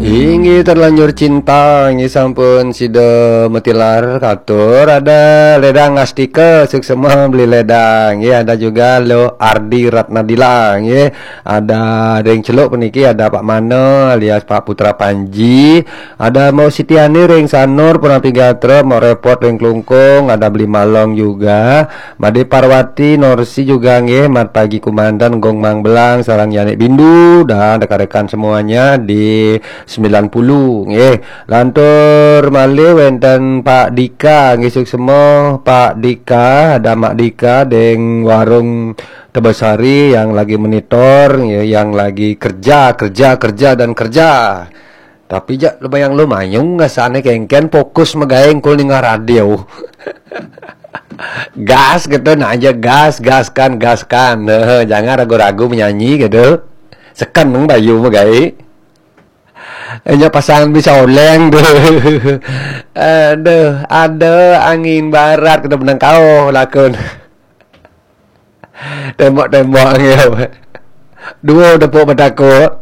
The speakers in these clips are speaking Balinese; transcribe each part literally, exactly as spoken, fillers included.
Inggih, Terlanjur Cinta, inggih, sampun sida matilar katur. Ada Ledang Astika, suksma beli Ledang. Inggih, ada juga Lo Ardi Ratnadila, inggih. Ada ring Celuk puniki, ada Pak Mana alias Pak Putra Panji. Ada Mbok Sitiani ring Sanur, Punapi Gatra, Mbok Repot ring Klungkung, ada Beli Malong juga. Made Parwati, Norsi juga, nggih, Mat Pagi Kumandan, Gong Mang Belang, sareng Yanik Bindu, dan rekan-rekan semuanya di sembilan puluh, nggih. Lantur malih wenten Pak Dika, nggih, suksma Pak Dika, ada Mak Dika deng warung Tebesari yang lagi monitor, nggih, yang lagi kerja, kerja, kerja, dan kerja. Tapi jak lumayung-lumayung ngasane kengken fokus magae engkul ningal radio. Gas gitu, nah aja gas, gaskan, gaskan. Heh, jangan ragu-ragu menyanyi gitu. Seken nang bayu magae. Enya pasang bisa oleng tuh. Aduh, ada angin barat kata benang kau lakun. Tembok-tembok ngew. Dua tepuk betako.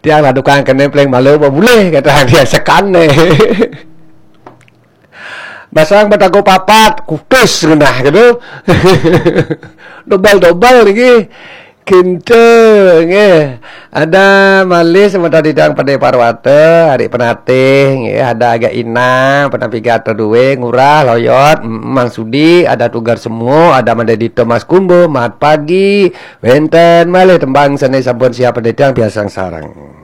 Tiang lah tukang kene pleng malu apa boleh kata dia sekan ne. Basang betako papat, kutus genah gitu. Dobel-dobel lagi. Kinta nggih. Ada malih semeton Didang Pade Parwata, Adik Penatih nggih, ada Agak Inang, Penapigat Tedue, Ngurah, Loyot, mm, Mang Sudi, ada Tugar Semu, ada Made Dito Mas Kumbo, Mat Pagi, wenten malih tembang sane sampun siap Didang biasang sareng.